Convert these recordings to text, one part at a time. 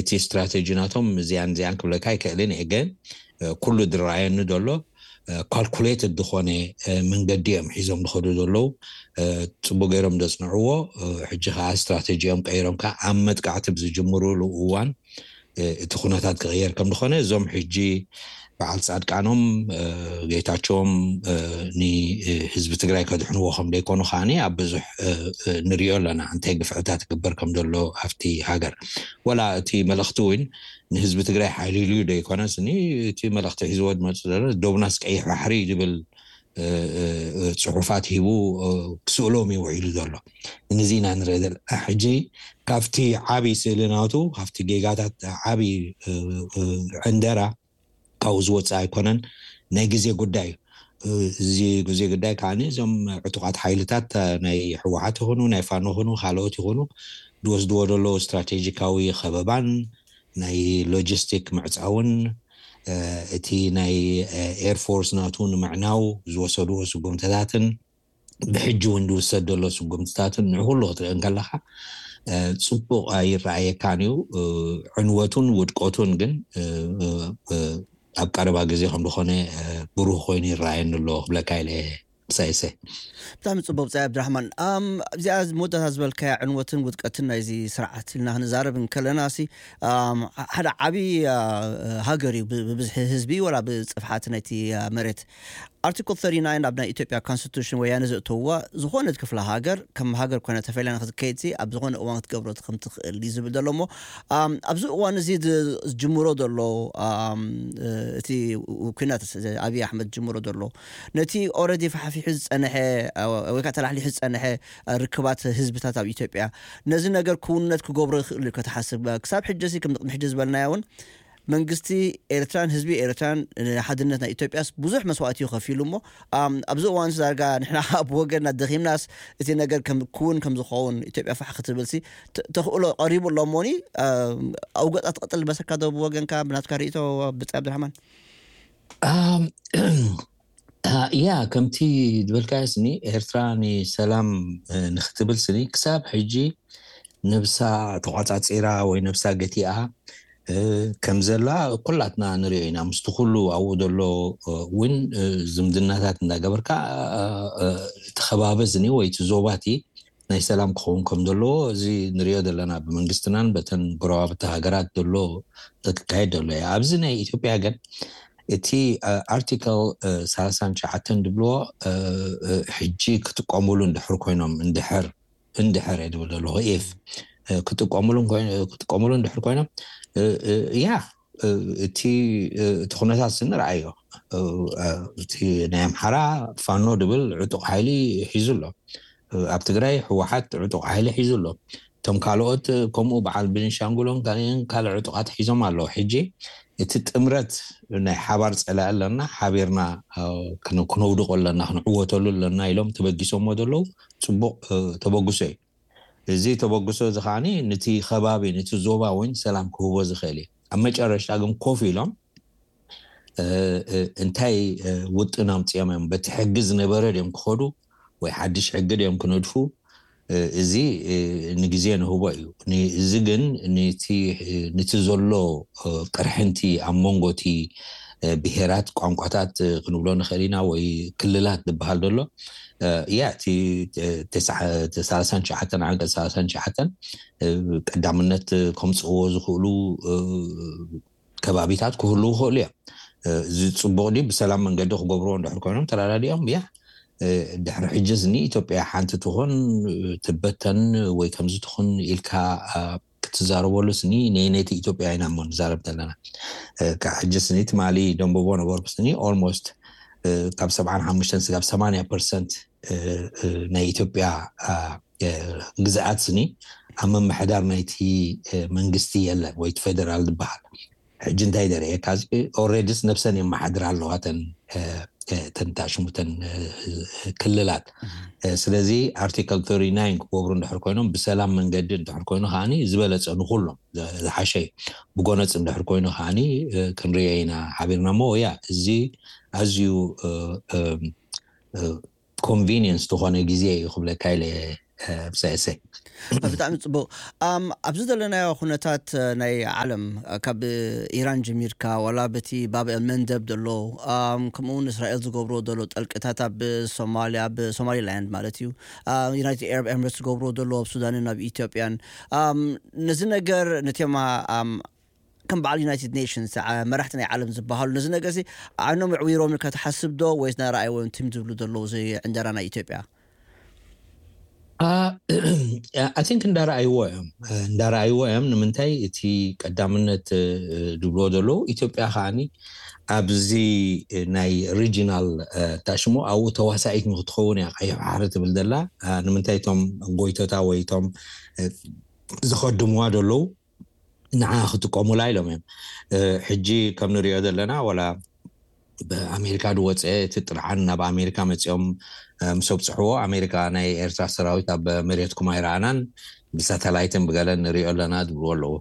እቲ ስትራቴጂ ናቶም እዚኣን እዚኣን ክብለካ ኣይክእልን እየ፣ ግን ኩሉ ዝረኣየኒ ዘሎ ካልኩሌትድ ዝኾነ መንገዲ እዮም ሒዞም ዝኸዱ ዘለዉ። ፅቡቅ ገይሮም ዘፅንዕዎ። ሕጂ ከዓ ስትራቴጂኦም ቀይሮም ከዓ ኣብ መጥቃዕቲ ብዝጅምሩሉ እዋን እቲ ኩነታት ክቕየር ከም ዝኾነ እዞም ሕጂ በዓል ፃድቃኖም ጌታቸውም ንህዝቢ ትግራይ ከድሕንዎ ከም ዘይኮኑ ከዓኒ ኣብ ብዙሕ ንሪኦ ኣለና፣ እንታይ ግፍዕታት ይግበር ከም ዘሎ ኣብቲ ሃገር። ወላ እቲ መልእኽቲ እውን ንህዝቢ ትግራይ ሓይሊሉ ዶ ይኮነስ፣ እቲ መልእኽቲ ሒዝዎ ዝመፅእ ዘሎ ዶብናስ ቀይሕ ባሕሪ ዝብል ፅሑፋት ሂቡ ክስእሎም እዩ ውዒሉ ዘሎ። ንዚ ኢና ንርኢ ዘለና። ሕጂ ካብቲ ዓብዪ ስእሊ ናቱ፣ ካብቲ ጌጋታት ዓብዪ ዕንደራ ካብኡ ዝወፅእ ኣይኮነን። ናይ ግዜ ጉዳይ እዩ። እዚ ግዜ ጉዳይ ከዓ እዞም ዕጡቃት ሓይልታት ናይ ህወሓት ይኹኑ ናይ ፋኖ ይኹኑ ካልኦት ይኹኑ ዝወስድዎ ዘለዉ ስትራቴጂካዊ ከበባን ናይ ሎጂስቲክ ምዕፃውን እቲ ናይ ኤርፎርስ ናቱ ንምዕናው ዝወሰድዎ ስጉምትታትን ብሕጂ እውን ዝውሰድ ዘሎ ስጉምትታትን ንኩሉ ክትርኢ እንከለካ ፅቡቅ ኣይረኣየካን እዩ። ዕንወቱን ውድቀቱን ግን ኣብ ቀረባ ግዜ ከም ዝኾነ ብሩህ ኮይኑ ይረኣየኒ ኣሎ ክብለካ ኢለ። ምሳይሰ ብጣዕሚ ፅቡቅ ብፃይ ኣብድራሕማን። ኣብዚኣ መወዳእታ ዝበልካያ ዕንወትን ውድቀትን ናይዚ ስርዓት ኢልና ክንዛረብ እንከለና ሲ ሓደ ዓብዪ ሃገር እዩ ብብዝሒ ህዝቢ ወላ ብፅፍሓት ናይቲ መሬት። ኣርቲክል thirty nine ኣብ ናይ ኢትዮጵያ ኮንስቲቱሽን ወያነ ዘእተውዋ ዝኾነት ክፍለ ሃገር ከም ሃገር ኮይና ተፈሊያ ንክትከይድ ኣብ ዝኾነ እዋን ክትገብሮ ከም ትኽእል እዩ ዝብል ዘሎ እሞ ኣብዚ እዋን እዚ ዝጅምሮ ዘሎ እቲ ኩናት ኣብይ ኣሕመድ ዝጅምሮ ዘሎ ነቲ ኦረዲ ፋሕፊሑ ዝፀንሐ ወይ ከዓ ተላሕሊሑ ዝፀንሐ ርክባት ህዝብታት ኣብ ኢትዮጵያ ነዚ ነገር ክውነት ክገብሮ ይኽእል እዩ ከተሓስብ ክሳብ ሕጂ ሲ ከም ቅድሚ ሕጂ ዝበልናዮ እውን መንግስቲ ኤርትራን ህዝቢ ኤርትራን ሓድነት ናይ ኢትዮጵያስ ብዙሕ መስዋእቲ እዩ ከፊሉ እሞ ኣብዚ እዋን ዳርጋ ንሕና ኣብ ወገንና ደኺምናስ እቲ ነገር ክውን ከም ዝኸውን ኢትዮጵያ ፋሕ ክትብል ሲ ተኽእሎ ቀሪቡ ኣሎ እሞኒ ኣብ ገፃ ትቐጥል በሰካ ዶ ብወገንካ ብናትካ ርእቶ ብፃይ ኣብድራሕማን ያ ከምቲ ዝበልካዮ ስኒ ኤርትራ ንሰላም ንክትብል ስኒ ክሳብ ሕጂ ነብሳ ተቋፃፂራ ወይ ነብሳ ገቲኣ ከም ዘላ ኩላትና ንሪኦ ኢና። ምስቲ ኩሉ ኣብኡ ዘሎ እውን ዝምድናታት እንዳገበርካ እቲ ከባቢ ዝኒ ወይ እቲ ዞባቲ ናይ ሰላም ክኸውን ከም ዘለዎ እዚ ንሪኦ ዘለና ብመንግስትናን በተን ጎረባብቲ ሃገራት ዘሎ ክካየድ ዘሎ እዩ። ኣብዚ ናይ ኢትዮጵያ ግን እቲ ኣርቲክል ሰላሳን ትሽዓተን ዝብልዎ ሕጂ ክጥቀሙሉ እንድሕር ኮይኖም እንድሕር እንድሕር እየ ዝብል ዘለኹ ኢፍ ክጥቀሙሉ ክጥቀሙሉ እንድሕር ኮይኖም ያ እቲ እቲ ኩነታት ንርኣዮ። እቲ ናይ ኣምሓራ ፋኖ ድብል ዕጡቕ ሓይሊ ሒዙ ኣሎ። ኣብ ትግራይ ህወሓት ዕጡቕ ሓይሊ ሒዙ ኣሎ። እቶም ካልኦት ከምኡ በዓል ቤንሻንጉልን ካልኦትን ካልእ ዕጡቓት ሒዞም ኣለዉ። ሕጂ እቲ ጥምረት ናይ ሓባር ፀላኢ ኣለና፣ ሓቢርና ክነውድቆ ኣለና፣ ክንዕወተሉ ኣለና ኢሎም ተበጊሶሞ ዘለዉ ፅቡቕ ተበግሶ እዩ። እዚ ተበግሶ እዚ ከዓኒ ነቲ ከባቢ ነቲ ዞባ እውን ሰላም ክህቦ ዝኽእል እዩ። ኣብ መጨረሽታ ግን ኮፍ ኢሎም እንታይ ውጥን ኣምፅኦም እዮም፣ በቲ ሕጊ ዝነበረ ድዮም ክኸዱ ወይ ሓድሽ ሕጊ ድዮም ክነድፉ፣ እዚ ንግዜ ንህቦ እዩ። እዚ ግን ነቲ ዘሎ ቅርሕንቲ ኣብ መንጎ እቲ ብሄራት ቋንቋታት ክንብሎ ንኽእል ኢና ወይ ክልላት ዝበሃል ዘሎ ያ እቲ ሰላሳን ትሽዓተን ዓንቀፅ ሰላሳን ትሽዓተን ቀዳምነት ከምፅእዎ ዝኽእሉ ከባቢታት ክህልው ይኽእሉ እዮም። እዚ ፅቡቕ ድዩ? ብሰላም መንገዲ ክገብርዎ እንድሕር ኮይኖም ተረዳዲኦም ያ ድሕሪ ሕጂ እዚ ንኢትዮጵያ ሓንቲ ትኹን ትበተን ወይ ከምዚ ትኹን ኢልካ ክትዛረበሉ ስኒ ነየነይቲ ኢትዮጵያ ኢና እሞ ንዛረብ ዘለና። ካብ ሕጂ ስኒ ትማሊ ደንበቦ ነበርኩ ስኒ ኦልሞስት ካብ ሰብዓን ሓሙሽተን ስጋብ ሰማንያ ፐርሰንት ናይ ኢትዮጵያ ግዝኣት ስኒ ኣብ ምምሕዳር ናይቲ መንግስቲ የለን ወይ ፌደራል ዝበሃል። ሕጂ እንታይ ደረየካ ኦልሬዲስ ነብሰን የመሓድራ ኣለዋ ተን ተንታሽሙተን ክልላት። ስለዚ ኣርቲክል thirty nine ክገብሩ እንድሕር ኮይኖም ብሰላም መንገዲ እንድሕር ኮይኑ ከዓኒ ዝበለፀ ንኩሎም ዝሓሸ እዩ። ብጎነፅ እንድሕር ኮይኑ ከዓኒ ክንሪኦ ኢና ሓቢርና እሞ ያ እዚ ኣዝዩ ኮንቪኒየንስ ዝኾነ ግዜ እዩ ክብለካ ኢለ ብሳይሰይ ብጣዕሚ ጽቡቕ። ኣም፣ ኣብዚ ዘለናዮ ኩነታት፣ እ፣ ናይ ዓለም፣ እ፣ ካብ ኢራን ጀሚርካ፣ ዋላ በቲ ባብ ኤል መንደብ ዘሎ፣ ኣም፣ ከምኡ እውን እስራኤል ዝገብሮ ዘሎ ጠልቅታት ኣብ ሶማልያ፣ ኣብ ሶማሊላንድ ማለት እዩ፣ ኣም፣ ዩናይትድ ኣረብ ኤምሬትስ ዝገብሮ ዘሎ ኣብ ሱዳንን ኣብ ኢትዮጵያን፣ ኣም፣ ነዚ ነገር ነቲኦም፣ ኣም፣ ከም በዓል ዩናይትድ ኔሽንስ፣ ዓ-፣ መራሕቲ ናይ ዓለም ዝበሃሉ ነዚ ነገር እዚ ዓይኖም ኣዕዊሮም ኢልካ ትሓስብ ዶ? ወይስ ናረኣይዎ እዮም ትም ዝብሉ ዘለዉ እዚ ዕንደራ ናይ ኢትዮጵያ? ኣይ ቲንክ እንዳረኣይዎ እዮም፣ እንዳረኣይዎ እዮም። ንምንታይ እቲ ቀዳምነት፣ እ፣ ዝብልዎ ዘለዉ ኢትዮጵያ ከዓኒ ኣብዚ ናይ ሪጂናል፣ እ፣ ታሽሞ ኣብኡ ተዋሳኢት ንክትኸውን እያ ቀይሕ ባሕሪ ትብል ዘላ። እ፣ ንምንታይ እቶም ጎይቶታ ወይ እቶም፣ እ፣ ዝኸድምዋ ዘለዉ ንዓ ክጥቀሙላ ኢሎም እዮም። እ፣ ሕጂ ከም ንሪኦ ዘለና ዋላ ብኣሜሪካ ዝወፀ እቲ ጥርዓን ናብ ኣሜሪካ መፂኦም፣ እ፣ ምስ ኣብፅሕዎ ኣሜሪካ ናይ ኤርትራ ሰራዊት ኣብ መሬትኩም ኣይረኣናን፣ ብሳተላይትን ብገለን ንሪኦ ኣለና ዝብልዎ ኣለዉ።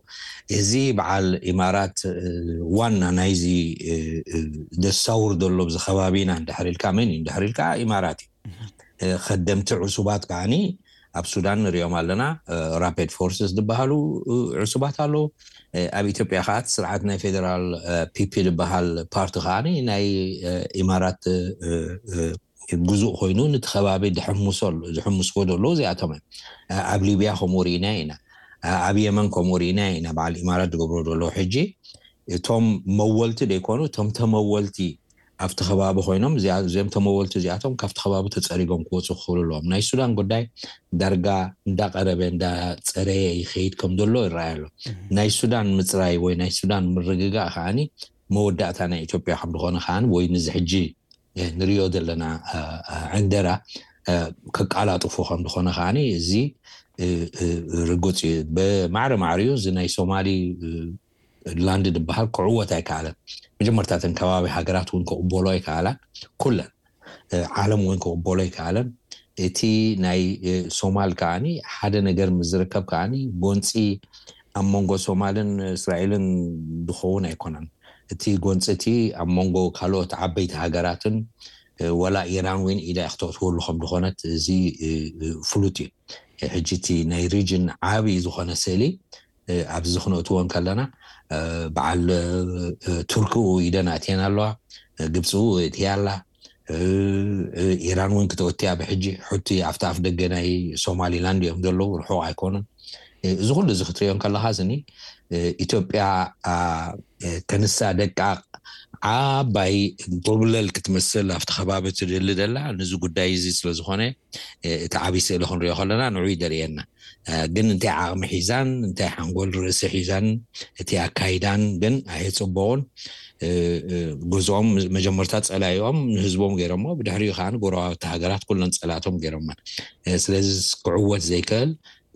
እዚ በዓል ኢማራት፣ እ፣ ዋና ናይዚ፣ እ፣ እ፣ ደሳውር ዘሎ ኣብዚ ከባቢና እንድሕር ኢልካ መን እዩ እንድሕር ኢልካ ኢማራት እዩ። እ፣ ከደምቲ ዕሱባት ከዓኒ ኣብ ሱዳን ንሪኦም ኣለና። እ፣ ራፒድ ፎርስስ ዝበሃሉ፣ እ፣ ዕሱባት ኣለዉ። እ፣ ኣብ ኢትዮጵያ ከዓ እቲ ስርዓት ናይ ፌደራል፣ እ፣ ፒፒ ዝበሃል ፓርቲ ከዓኒ ናይ፣ እ፣ ኢማራት፣ እ፣ እ፣ ግዙእ ኮይኑ ነቲ ከባቢ ድሕምሶ-፣ ዝሕምስዎ ዘለዉ እዚኣቶም እዮም። እ፣ ኣብ ሊብያ ከምኡ ርኢና ኢና። እ፣ ኣብ የመን ከምኡ ርኢና ኢና። በዓል ኢማራት ዝገብሮ ዘለዉ ሕጂ እቶም መወልቲ ዘይኮኑ፣ እቶም ተመወልቲ ኣብቲ ከባቢ ኮይኖም፣ እዚኣ-፣ እዚኦም ተመወልቲ እዚኣቶም ካብቲ ከባቢ ተጸሪጎም ክወፁ ክኽእሉ ኣለዎም። ናይ ሱዳን ጉዳይ ዳርጋ እንዳቐረበ እንዳጸረየ ይኸይድ ከም ዘሎ ይረኣይ ኣሎ። ናይ ሱዳን ምጽራይ ወይ ናይ ሱዳን ምርግጋእ ከዓኒ መወዳእታ ናይ ኢትዮጵያ ከም ዝኾነ ከዓኒ ወይ ንዚ ሕጂ፣ እ፣ ንሪኦ ዘለና፣ እ፣ እ፣ ዕንደራ፣ እ፣ ከቃላጥፎ ከም ዝኾነ ከዓኒ እዚ፣ እ፣ እ፣ ርጉጽ እዩ። ብማዕረ ማዕሪኡ እዚ ናይ ሶማሊ፣ እ፣ ላንድ ዝበሃል ክዕወት ኣይከኣለን። መጀመርታ እተን ከባቢ ሃገራት እውን ክቕበሎ ኣይከኣላን። ኩለን፣ እ፣ ዓለም እውን ክቕበሎ ኣይከኣለን። እቲ ናይ፣ እ፣ ሶማል ከዓኒ ሓደ ነገር ምስ ዝርከብ ከዓኒ ጎንፂ ኣብ መንጎ ሶማልን እስራኤልን ዝኸውን ኣይኮነን። እቲ ጎንፂ እቲ ኣብ መንጎ ካልኦት ዓበይቲ ሃገራትን፣ እ፣ ወላ ኢራን እውን ኢዳ እያ ክተእትወሉ ከም ዝኾነት እዚ፣ እ፣ እ፣ ፍሉጥ እዩ። እ፣ ሕጂ እቲ ናይ ሪጅን ዓብዪ ዝኾነ ስእሊ፣ እ፣ ኣብዚ ክነእትዎ እንከለና፣ እ፣ በዓል፣ እ፣ ቱርኪ ኢደን ኣእትየን ኣለዋ፣ እ፣ ግብፂ እእትያ ኣላ፣ እ፣ እ፣ ኢራን እውን ክተወትያ ብሕጂ። ሑቲ ኣብቲ ኣፍ ደገ ናይ ሶማሊላንድ እዮም ዘለዉ፣ ርሑቕ ኣይኮኑን። እ፣ እዚ ኩሉ እዚ ክትሪኦ እንከለኻ ስኒ፣ እ፣ ኢትዮጵያ፣ ኣ፣ እ፣ ከንሳ ደቃቕ ዓባይ ጎብለል ክትመስል ኣብቲ ከባቢ ትደሊ ደላ፣ ነዚ ጉዳይ እዚ ስለ ዝኾነ፣ እ፣ እቲ ዓብዪ ስእሊ ክንሪኦ ከለና ንዑ ይደርእየና። እ፣ ግን እንታይ ዓቕሚ ሒዛን፣ እንታይ ሓንጎል ርእሲ ሒዛን፣ እቲ ኣካይዳን ግን ኣየጽበቑን። እ፣ እ፣ ገዝኦም መጀመርታ ጸላኢኦም ንህዝቦም ገይሮሞ፣ ብድሕሪኡ ከኣ ንጎረባብቲ ሃገራት ኩለን ጸላእቶም ገይሮመን። እ፣ ስለዚ ክዕወት ዘይክእል፣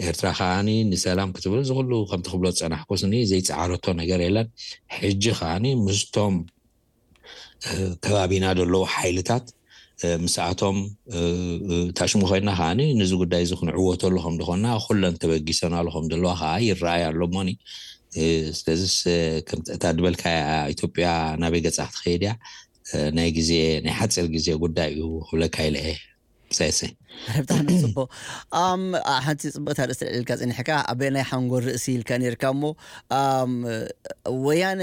ኤርትራ ከኣኒ ንሰላም ክትብል እዚ ኩሉ ከምቲ ክብሎ ዝጸናሕኩ ስኒ ዘይጸዓረቶ ነገር የለን። ሕጂ ከኣኒ ምስቶም፣ እ፣ ከባቢና ዘለዉ ሓይልታት፣ እ፣ ምስኣቶም፣ እ፣ እ፣ ታሽሙ ኮይና ከኣኒ ነዚ ጉዳይ እዚ ክንዕወተሉ ከም ዝኾንና ኩለን ተበጊሰናሉ ከም ዘለዋ ከኣ ይረኣይ ኣሎ እሞኒ። እ፣ ስለዚስ፣ እ፣ ከምቲ እታ ዝበልካያ ኢትዮጵያ ናበይ ገጻ ክትኸይድ እያ? እ፣ ናይ ግዜ፣ ናይ ሓጺር ግዜ ጉዳይ እዩ ክብለካ ኢለ እየ። ሳይሰይ። ብጣዕሚ ጽቡቕ። ኣም፣ ኣ፣ ሓንቲ ጽብቕቲ ኣርእስቲ ኣልዒልካ ጸኒሕካ፣ ኣበየናይ ሓንጎል ርእሲ ኢልካ ነይርካ እሞ፣ ኣም፣ ወያነ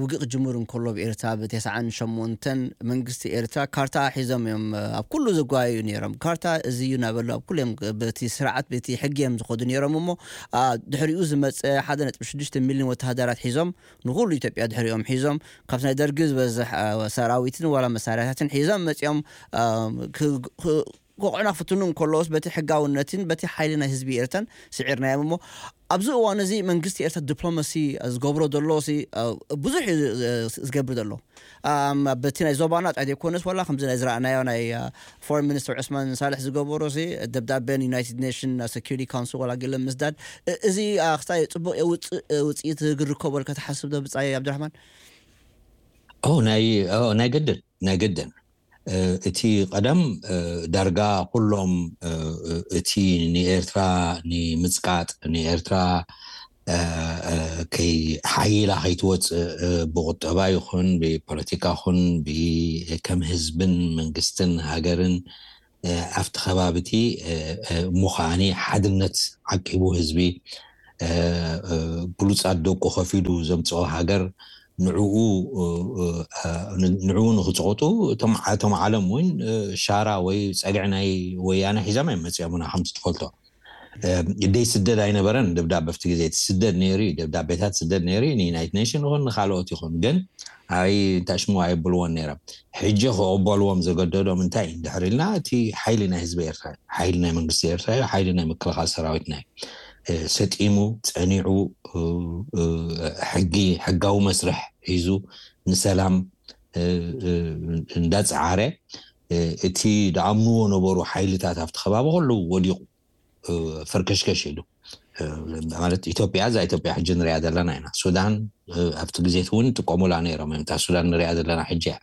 ውግእ ክጅምር እንከሎ ኣብ ኤርትራ ብተስዓን ሸሞንተን መንግስቲ ኤርትራ ካርታ ሒዞም እዮም ኣብ ኩሉ ዘጓየዩ ነይሮም። ካርታ እዚ እዩ እናበሉ ኣብ ኩሉ እዮም በቲ ስርዓት፣ በቲ ሕጊ እዮም ዝኸዱ ነይሮም እሞ፣ ኣ፣ ድሕሪኡ ዝመጸ ሓደ ነጥቢ ሽዱሽተ ሚልዮን ወተሃደራት ሒዞም ንኹሉ ኢትዮጵያ ድሕሪኦም ሒዞም ካብቲ ናይ ደርጊ ዝበዝሕ፣ ኣ፣ ሰራዊትን ዋላ መሳርያታትን ሒዞም መጺኦም፣ ኣ፣ ክ-፣ ክ-፣ ክወቕዑና ክፍትኑ እንከለዎስ በቲ ሕጋውነትን በቲ ሓይሊ ናይ ህዝቢ ኤርትራን ስዒርናዮም እሞ ኣብዚ እዋን እዚ መንግስቲ ኤርትራ ዲፕሎማሲ ዝገብሮ ዘሎ ሲ፣ አ፣ ብዙሕ እዩ ዝ-፣ ዝገብር ዘሎ። ኣም፣ በቲ ናይ ዞባና ጥራይ ዘይኮነስ ዋላ ከምዚ ናይ ዝረኣናዮ ናይ፣ አ፣ ፎሬን ሚኒስትር ዑስማን ሳልሕ ዝገበሮ ሲ ደብዳቤ ንዩናይትድ ኔሽን ሴኩሪቲ ካውንስል ዋላ ገለ ምስዳድ፣ እ-፣ እዚ፣ አ፣ ክሳይ ጽቡቕ የውጽእ፣ እ፣ ውጽኢት ክርከቦ ኢልካ ትሓስብ ዶ ብጻይ ኣብዱራሕማን? ኦ፣ ናይ፣ ኦ፣ ናይ ግድን፣ ናይ ግድን። እ፣ እቲ ቀደም፣ እ፣ ዳርጋ ኩሎም፣ እ፣ እ፣ እቲ ንኤርትራ ንምጽቃጥ፣ ንኤርትራ፣ እ፣ እ፣ ከይ-፣ ሓይላ ከይትወጽእ፣ እ፣ ብቁጠባ ይኹን፣ ብፖለቲካ ይኹን፣ ብ-፣ ከም ህዝብን መንግስትን ሃገርን ኣብቲ ከባቢ እቲ እሞ ከዓኒ ሓድነት ዓቂቡ ህዝቢ ብሉፃት ደቁ ከፊሉ ዘምፅኦ ሃገር ንዕኡ ንዕኡ ንክፅቆጡ እቶም ዓለም እውን ሻራ ወይ ፀግዒ ናይ ወያነ ሒዛም ኣይመፅኦምና። ከምቲ ትፈልጦ ደይ ስደድ ኣይነበረን ደብዳበ ኣብቲ ግዜ። እቲ ስደድ ነይሩ እዩ፣ ደብዳቤታት ስደድ ነይሩ እዩ፣ ንዩናይትድ ኔሽን ይኹን ንካልኦት ይኹን። ግን ኣይ እንታይ ሽሙ ኣይብልዎን ነይሮም። ሕጂ ክቕበልዎም ዘገደዶም እንታይ እዩ እንድሕር ኢልና፣ እቲ ሓይሊ ናይ ህዝቢ ኤርትራ እዩ፣ ሓይሊ ናይ መንግስቲ ኤርትራ እዩ፣ ሓይሊ ናይ ምክልኻል ሰራዊትና እዩ። ሰጢሙ ጸኒዑ ሕጊ፣ ሕጋዊ መስርሕ ሒዙ ንሰላም እንዳጸዓረ፣ እቲ ደኣምንዎ ነበሩ ሓይልታት ኣብቲ ከባቢ ከለዉ ወዲቑ ፈርከሽከሽ ኢሉ። ማለት ኢትዮጵያ፣ እዛ ኢትዮጵያ ሕጂ ንሪኣ ዘለና ኢና። ሱዳን ኣብቲ ግዜ እውን ጥቀሙላ ነይሮም እዮም። እታ ሱዳን ንሪኣ ዘለና ሕጂ እያ።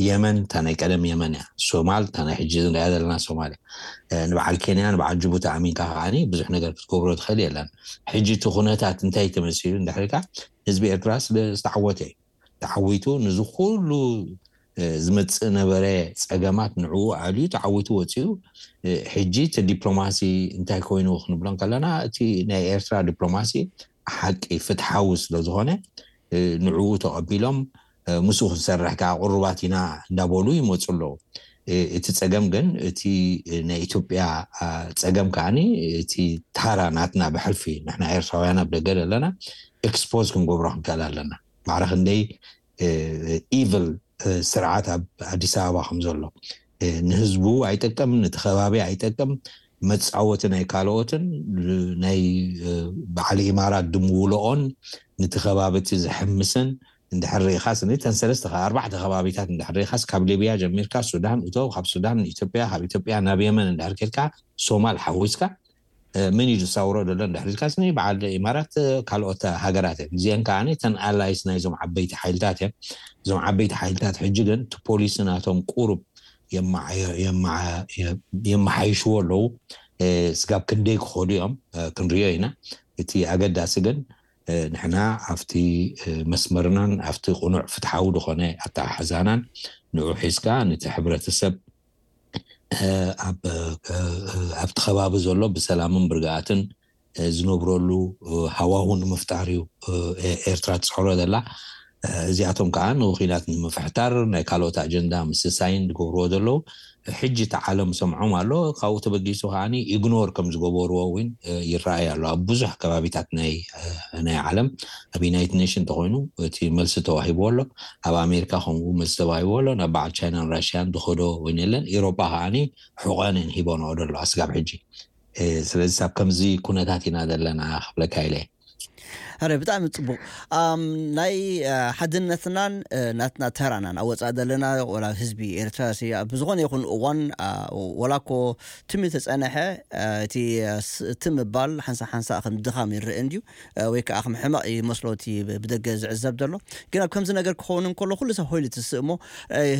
የመን እታ ናይ ቀደም የመን እያ። ሶማል እታ ናይ ሕጂ ንሪኣ ዘለና ሶማል እያ። ንበዓል ኬንያ፣ ንበዓል ጅቡቲ ኣሚንካ ከዓኒ ብዙሕ ነገር ክትገብሮ ትኽእል የለን። ሕጂ እቲ ኩነታት እንታይ ተመሲሉ እንድሕር ኢልካ፣ ህዝቢ ኤርትራ ስለ ዝተዓወተ እዩ። ተዓዊቱ፣ ንዚ ኩሉ ዝመፅእ ነበረ ፀገማት ንዕኡ ኣልዩ ተዓዊቱ ወፂኡ። ሕጂ እቲ ዲፕሎማሲ እንታይ ኮይኑ ክንብሎ ከለና፣ እቲ ናይ ኤርትራ ዲፕሎማሲ ሓቂ ፍትሓዊ ስለ ዝኾነ ንዕኡ ተቐቢሎም ምስኡ ክንሰርሕ ከዓ ቅሩባት ኢና እንዳበሉ ይመፁ ኣለዉ። እቲ ፀገም ግን እቲ ናይ ኢትዮጵያ ፀገም ከዓኒ እቲ ታራ ናትና ብሕልፊ ንሕና ኤርትራውያን ኣብ ደገ ዘለና ኤክስፖዝ ክንገብሮ ክንክእል ኣለና። ማዕረ ክንደይ ኢቭል ስርዓት ኣብ ኣዲስ ኣበባ ከም ዘሎ ንህዝቡ ኣይጠቅም፣ ነቲ ከባቢ ኣይጠቅም፣ መፃወቲ ናይ ካልኦትን ናይ በዓል ኢማራት ድምውልኦን ነቲ ከባቢ እቲ ዝሕምስን እንድሕር ርኢኻስ፣ እተን ሰለስተ ከ-፣ ኣርባዕተ ከባቢታት እንድሕር ርኢኻስ፣ ካብ ሊብያ ጀሚርካ ሱዳን እቶ፣ ካብ ሱዳን ንኢትዮጵያ፣ ካብ ኢትዮጵያ ናብ የመን እንድሕር ኬድካ፣ ሶማል ሓዊስካ፣ ምን እዩ ዝሳውሮ ዘሎ እንድሕር ኢልካስ፣ በዓል ኢማራት ካልኦት ሃገራት እየን። እዚአን ከዓ እተን ኣላይስ ናይዞም ዓበይቲ ሓይልታት እየን። እዞም ዓበይቲ ሓይልታት ሕጂ ግን እቲ ፖሊሲ ናቶም ቁሩብ የመሓይሽዎ ኣለዉ። ስጋብ ክንደይ ክኸዱ እዮም ክንሪኦ ኢና። እቲ ኣገዳሲ ግን ንሕና ኣብቲ መስመርናን ኣብቲ ቅኑዕ ፍትሓዊ ዝኾነ ኣተሓሕዛናን ንዑ ሒዝካ ነቲ ሕብረተሰብ ኣብቲ ከባቢ ዘሎ ብሰላምን ብርግኣትን ዝነብረሉ ሃዋሁ ንምፍጣር እዩ ኤርትራ ትፅዕሮ ዘላ። እዚኣቶም ከዓ ንኩናት ንምፍሕታር ናይ ካልኦት ኣጀንዳ ምስሳይን ዝገብርዎ ዘለዉ ሕጂ እቲ ዓለም ሰምዖም ኣሎ። ካብኡ ተበጊሱ ከዓ ኢግኖር ከም ዝገበርዎ እውን ይረኣይ ኣሎ። ኣብ ብዙሕ ከባቢታት ናይ ናይ ዓለም ኣብ ዩናይትድ ኔሽን እንተኮይኑ እቲ መልሲ ተዋሂብዎ ኣሎ። ኣብ ኣሜሪካ ከምኡ መልሲ ተዋሂብዎ ኣሎ። ናብ በዓል ቻይናን ራሽያን ዝኸዶ እውን የለን። ኢሮጳ ከዓ ሕቆነን ሂቦንኦ ደሎ ኣስጋብ ሕጂ። ስለዚ ኣብ ከምዚ ኩነታት ኢና ዘለና ክብለካ ኢለ። ኣረ ብጣዕሚ ፅቡቅ። ናይ ሓድነትናን ናትና ተራናን ኣወፃእ ዘለና ወላ ህዝቢ ኤርትራ ብዝኾነ ይኹን እዋን ወላ ኮ ትም ተፀነሐ እቲ ምባል ሓንሳ ሓንሳ ከም ድኻም ይረአ እንድዩ፣ ወይ ከዓ ከም ሕመቕ ይመስሎ እቲ ብደገ ዝዕዘብ ዘሎ። ግን ኣብ ከምዚ ነገር ክኸውን እንከሎ ኩሉ ሰብ ሆይሉ ትስእሞ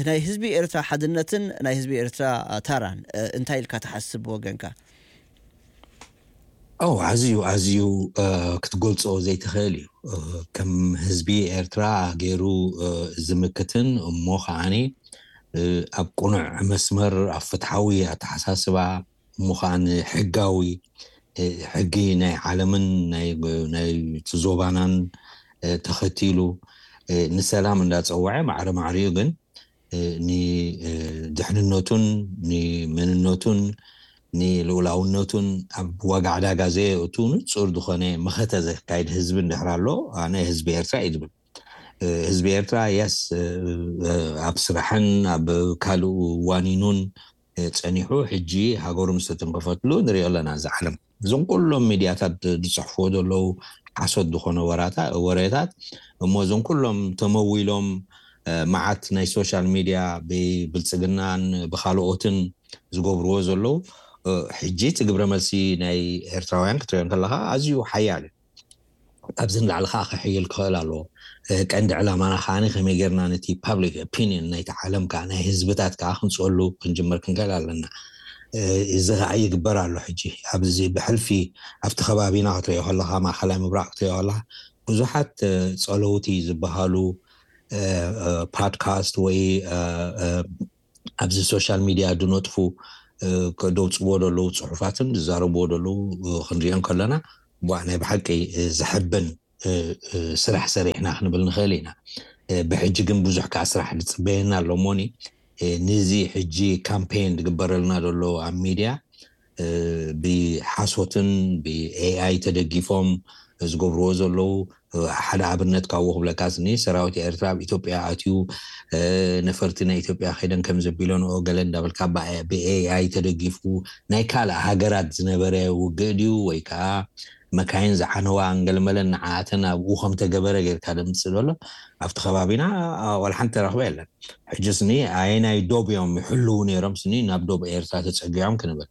ናይ ህዝቢ ኤርትራ ሓድነትን ናይ ህዝቢ ኤርትራ ታራን እንታይ ኢልካ ትሓስብ ወገንካ? ኣዝዩ ኣዝዩ ክትገልፆ ዘይትኽእል እዩ። ከም ህዝቢ ኤርትራ ገይሩ ዝምክትን እሞ ከዓኒ ኣብ ቅኑዕ መስመር ኣብ ፍትሓዊ ኣተሓሳስባ እሞ ከዓኒ ሕጋዊ ሕጊ ናይ ዓለምን ናይ ዞባናን ተኸቲሉ ንሰላም እንዳፀወዐ ማዕረ ማዕሪኡ ግን ንድሕንነቱን ንመንነቱን ንልኡላውነቱን ኣብ ዋጋ ዕዳጋ ዘየእቱ ንፁር ዝኾነ መኸተ ዘካይድ ህዝቢ እንድሕር ኣሎ ኣነ ህዝቢ ኤርትራ እዩ ዝብል። ህዝቢ ኤርትራ የስ ኣብ ስራሕን ኣብ ካልእ ዋኒኑን ፀኒሑ ሕጂ ሃገሩ ምስ ተተንከፈትሉ ንሪኦ ኣለና። እዚ ዓለም እዞም ኩሎም ሚድያታት ዝፅሕፍዎ ዘለዉ ሓሶት ዝኾነ ወሬታት እሞ እዞም ኩሎም ተመዊሎም መዓት ናይ ሶሻል ሚድያ ብብልፅግናን ብካልኦትን ዝገብርዎ ዘለዉ ሕጂ እቲ ግብረ መልሲ ናይ ኤርትራውያን ክትሪኦ ከለካ ኣዝዩ ሓያል እዩ። ካብዚ ንላዕሊ ከዓ ክሕይል ክኽእል ኣለዎ። ቀንዲ ዕላማና ከዓ ከመይ ጌርና ነቲ ፓብሊክ ኦፒኒየን ናይቲ ዓለም ከዓ ናይ ህዝብታት ከዓ ክንፅወሉ ክንጅምር ክንክእል ኣለና። እዚ ከዓ ይግበር ኣሎ ሕጂ ኣብዚ ብሕልፊ ኣብቲ ከባቢና ክትሪኦ ከለካ ማእኸላይ ምብራቅ ክትሪኦ ከለካ ብዙሓት ፀለውቲ ዝበሃሉ ፓድካስት ወይ ኣብዚ ሶሻል ሚድያ ዝነጥፉ እ፣ ከደውፅዎ ዘለዉ ፅሑፋትን ዝዛረብዎ ዘለዉ፣ እ፣ ክንሪኦ ከለና፣ ቧ ናይ ብሓቂ፣ እ፣ ዘሕብን፣ እ፣ እ፣ ስራሕ ሰሪሕና ክንብል ንኽእል ኢና። እ፣ ብሕጂ ግን ብዙሕ ከዓ ስራሕ ዝፅበየና ኣሎ እሞኒ፣ እ፣ ንዚ ሕጂ ካምፔን ዝግበረልና ዘሎ ኣብ ሚድያ፣ እ፣ ብሓሶትን ብኤኣይ ተደጊፎም ዝገብርዎ ዘለዉ፣ እ፣ ሓደ ኣብነት ካብኡ ክብለካ ስኒ፣ ሰራዊት ኤርትራ ኣብ ኢትዮጵያ ኣትዩ፣ እ፣ ነፈርቲ ናይ ኢትዮጵያ ከይደን ከም ዘቢለንኦ ገለ እንዳበልካ፣ ብ-፣ ብኤኣይ ተደጊፉ ናይ ካልእ ሃገራት ዝነበረ ውግእ ድዩ ወይ ከዓ መካይን ዝዓነዋ እንገልመለን ንዓኣተን ኣብኡ ከም ተገበረ ጌርካ ደምጽእ ዘሎ ኣብቲ ከባቢና፣ አ፣ ዋላ ሓንቲ ተረኽበ የለን። ሕጂ ስኒ ኣየናይ ዶብ እዮም ይሕልዉ ነይሮም ስኒ ናብ ዶብ ኤርትራ ተጸጊዖም ክንብል።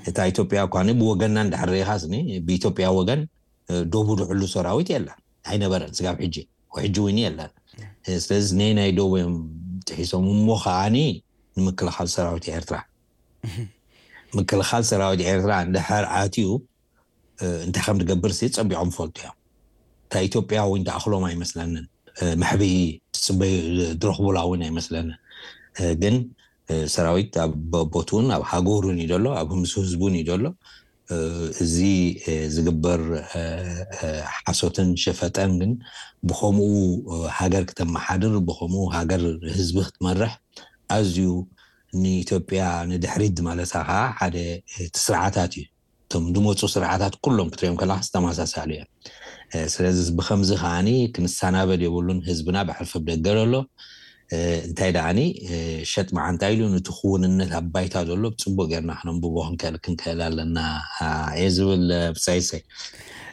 እታ ኢትዮጵያ እኳ ኒ ብወገንና እንድሕር ርኢኻ ስኒ ብኢትዮጵያ ወገን፣ እ፣ ዶቡ ዝሕሉ ሰራዊት የለን። ኣይነበረን ስጋብ ሕጂ። ወይ ሕጂ እውን የለን። እ፣ ስለዚ ነየናይ ዶብ እዮም ጥሒሶም እሞ ከዓኒ ንምክልኻል ሰራዊት ኤርትራ። ምክልኻል ሰራዊት ኤርትራ እንድሕር ኣትዩ፣ እ፣ እንታይ ከም ዝገብር ሲ ጸቢቖም ፈልጡ እዮም። እታ ኢትዮጵያ እውን ትኣኽሎም ኣይመስለንን። እ፣ መሕብኢ ትጽበዩ ዝረኽቡላ እውን ኣይመስለንን። እ፣ ግን፣ እ፣ ሰራዊት ኣብ ቦ-፣ ቦትኡን ኣብ ሃገሩን እዩ ዘሎ፣ ኣብ ምስ ህዝቡን እዩ ዘሎ። እ፣ እዚ፣ እ፣ ዝግበር፣ እ፣ እ፣ ሓሶትን ሸፈጠን ግን ብኸምኡ፣ እ፣ ሃገር ክተመሓድር፣ ብኸምኡ ሃገር ህዝቢ ክትመርሕ ኣዝዩ ንኢትዮጵያ ንድሕሪት ዝመለሳ ከዓ ሓደ፣ እ፣ እቲ ስርዓታት እዩ። እቶም ዝመፁ ስርዓታት ኩሎም ክትሪኦም ከለካ ተመሳሳሊ እዮም። እ፣ ስለዚ ብከምዚ ከዓኒ ክንሰናበድ የብሉን። ህዝብና ብሕልፊ ኣብ ደገ ዘሎ፣ እ፣ እንታይ ደኣኒ፣ እ፣ ሸጥ መዓንታ ኢሉ ነቲ ክውንነት ኣብ ባይታ ዘሎ ብፅቡቅ ጌርና ክነንብቦ ክንክእል፣ ክንክእል ኣለና፣ እ፣ እየ ዝብል፣ እ፣ ብጻይሰይ።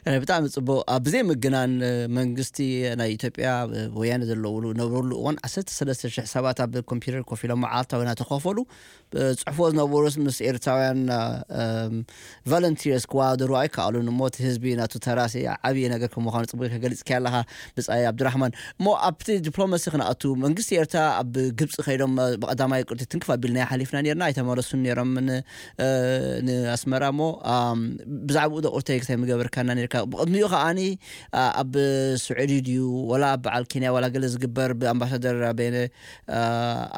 እ፣ ብጣዕሚ ጽቡቕ። ኣብ ብዘይ ምግናን፣ እ፣ መንግስቲ ናይ ኢትዮጵያ፣ እ፣ ወያነ ዘለውሉ፣ ነበሩሉ እዋን ዓሰርተ ሰለስተ ሽሕ ሰባት ኣብ ኮምፒውተር ኮፍ ኢሎም መዓልታዊ እናተኸፈሉ፣ እ፣ ጽሕፍዎ ዝነበሩስ ምስ ኤርትራውያን፣ እ፣ እም፣ ቮለንቲርስ ክወዳደሩ ኣይከኣሉን። እሞ እቲ ህዝቢ ናቱ ተራሲ ዓብዪ ነገር ከም ምዃኑ ጽቡቕ ከገልጽ ከለኻ ብጻይ ኣብዱራሕማን። እሞ ኣብቲ ዲፕሎማሲ ክንኣቱ መንግስቲ ኤርትራ ኣብ ግብጺ ከይዶም፣ እ፣ ብቐዳማይ ቅርጺ ትንክፍ ኣቢልና ሓሊፍና ነርና፣ ኣይተመለሱን ነይሮም ን-፣ እ፣ ንኣስመራ። እሞ፣ ኣም፣ ብዛዕባኡ ዶ ቁርተይ ክታይ ምገበርካና ነርካ? ብቕድሚኡ ከዓኒ፣ ኣ፣ ኣብ ስዑዲ ድዩ፣ ወላ ኣብ በዓል ኬንያ፣ ወላ ገለ ዝግበር ብኣምባሳደር በየነ፣ ኣ፣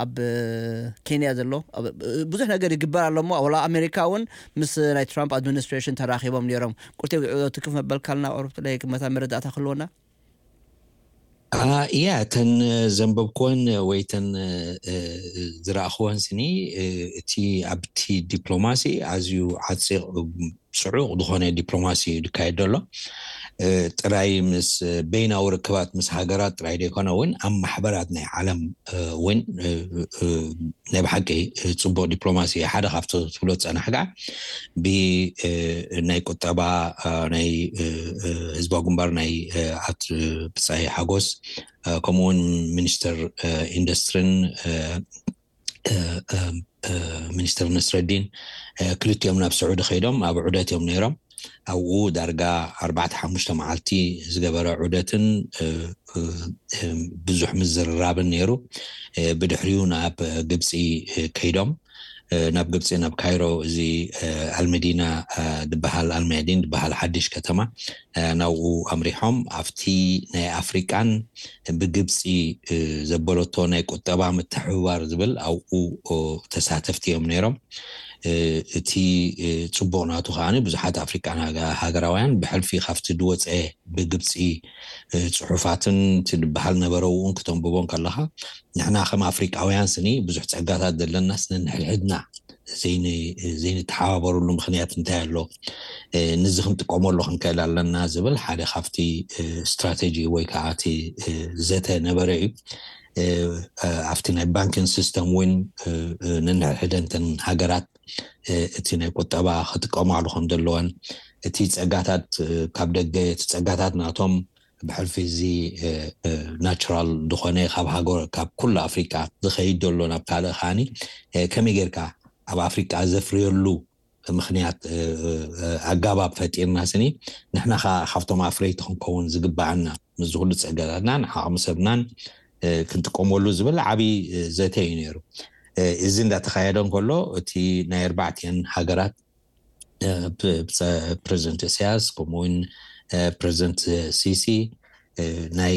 ኣብ ኬንያ ዘሎ፣ ኣብ፣ ብዙሕ ነገር ይግበር ኣሎ እሞ፣ ወላ ኣሜሪካ እውን ምስ ናይ ትራምፕ ኣድሚኒስትሬሽን ተራኺቦም ነይሮም። ቁርተይ ብዕዶ ትክፍ መበልካልና፣ ቁሩብ ጥለይ መታ መረዳእታ ክህልወና? ኣ፣ እያ፣ እተን ዘንበብክወን ወይ እተን፣ እ፣ ዝረኣኽወን ስኒ፣ እ፣ እቲ ኣብቲ ዲፕሎማሲ ኣዝዩ ዓጺቕ፣ ጽዑቕ ዝኾነ ዲፕሎማሲ እዩ ዝካየድ ዘሎ። እ፣ ጥራይ ምስ በይናዊ ርክባት ምስ ሃገራት ጥራይ ዘይኮነ እውን ኣብ ማሕበራት ናይ ዓለም፣ እ፣ እውን፣ እ፣ እ፣ ናይ ብሓቂ፣ እ፣ ጽቡቕ ዲፕሎማሲ እዩ። ሓደ ካብቲ ትብሎ ዝጸናሕካ ብ፣ እ፣ ናይ ቁጠባ፣ እ፣ ናይ፣ እ፣ እ፣ ህዝባዊ ግንባር ናይ፣ እ፣ ኣት ብጻይ ሓጎስ፣ እ፣ ከምኡ እውን ሚኒስተር፣ እ፣ ኢንዱስትሪን፣ እ፣ እ፣ እ፣ እ፣ ሚኒስተር ነስረዲን፣ እ፣ ክልቲኦም ናብ ስዑዲ ከይዶም ኣብ ዑደት እዮም ነይሮም። ኣብኡ ዳርጋ ኣርባዕተ ሓሙሽተ መዓልቲ ዝገበረ ዑደትን፣ እ፣ እ፣ እ፣ ብዙሕ ምዝርራብን ነይሩ። እ፣ ብድሕሪኡ ናብ ግብጺ፣ እ፣ ከይዶም፣ እ፣ ናብ ግብጺ፣ ናብ ካይሮ፣ እዚ፣ እ፣ ኣልመዲና፣ እ፣ ዝበሃል፣ ኣልመዲን ዝበሃል ሓድሽ ከተማ፣ እ፣ ናብኡ ኣምሪሖም። ኣብቲ ናይ ኣፍሪቃን ብግብጺ፣ እ፣ ዘበለቶ ናይ ቁጠባ ምትሕብባር ዝብል ኣብኡ፣ ኦ፣ ተሳተፍቲ እዮም ነይሮም። እ፣ እቲ፣ እ፣ ጽቡቕ ናቱ ከኣ ብዙሓት ኣፍሪቃን ሃገ-፣ ሃገራውያን ብሕልፊ ካብቲ ዝወጸ ብግብጺ፣ እ፣ ጽሑፋትን እቲ ዝበሃል ነበረ እውን ክተንብቦ ከለኻ፣ ንሕና ከም ኣፍሪቃውያን ስኒ ብዙሕ ጸጋታት ዘለናስ ነንሕድሕድና ዘይን-፣ ዘይንተሓባበረሉ ምኽንያት እንታይ ኣሎ? እ፣ ንዚ ክንጥቀመሉ ክንክእል ኣለና ዝብል ሓደ ካብቲ፣ እ፣ ስትራተጂ ወይ ከዓ እቲ፣ እ፣ ዘተ ነበረ እዩ። እ፣ እ፣ ኣብቲ ናይ ባንኪን ሲስተም እውን፣ እ፣ እ፣ ነንሕድሕደንተን ሃገራት፣ እ፣ እቲ ናይ ቁጠባ ክጥቀማሉ ከም ዘለወን፣ እቲ ጸጋታት፣ እ፣ ካብ ደገ፣ እቲ ጸጋታት ናቶም ብሕልፊ እዚ፣ እ፣ እ፣ ናቹራል ዝኾነ ካብ ሃገር፣ ካብ ኩሉ ኣፍሪቃ ዝኸይድ ዘሎ ናብ ካልእ ከዓኒ፣ እ፣ ከመይ ጌርካ ኣብ ኣፍሪቃ ዘፍርየሉ ምኽንያት፣ እ፣ እ፣ ኣጋባብ ፈጢርና ስኒ፣ ንሕና ኸዓ ካብቶም ኣፍረይቲ ክንከውን ዝግበኣና፣ ምስዚ ኩሉ ጸጋታትናን ዓቕሚ ሰብናን፣ እ፣ ክንጥቀመሉ ዝብል ዓብዪ፣ እ፣ ዘተ እዩ ነይሩ። እ፣ እዚ እንዳተኻየደ እንከሎ፣ እቲ ናይ ኣርባዕቲአን ሃገራት፣ እ፣ ፕ-፣ ፕ-፣ ፕረዚደንት ኢሳያስ፣ ከምኡ እውን፣ እ፣ ፕረዚደንት ሲሲ፣ ናይ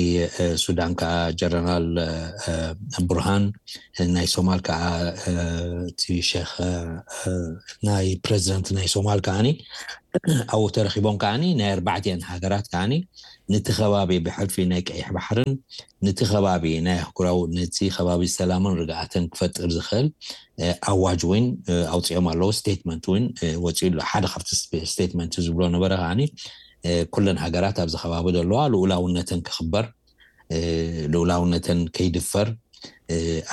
ሱዳን ከዓ ጀነራል ቡርሃን፣ ናይ ሶማል ከዓ እቲ ሸክ ናይ ፕሬዚደንት ናይ ሶማል ከዓኒ ኣብኡ ተረኪቦም ከዓኒ ናይ ኣርባዕቲአን ሃገራት ከዓኒ ነቲ ከባቢ ብሕልፊ ናይ ቀይሕ ባሕርን ነቲ ከባቢ ናይ ኣህጉራዊ ነቲ ከባቢ ሰላምን ርግኣትን ክፈጥር ዝኽእል ኣዋጅ እውን ኣውፅኦም ኣለዉ። ስቴትመንት እውን ወፂኡ ኣሎ። ሓደ ካብቲ ስቴትመንት ዝብሎ ነበረ ከዓኒ ኩለን ሃገራት ኣብዚ ከባቢ ዘለዋ ልኡላውነተን ክኽበር፣ ልኡላውነተን ከይድፈር፣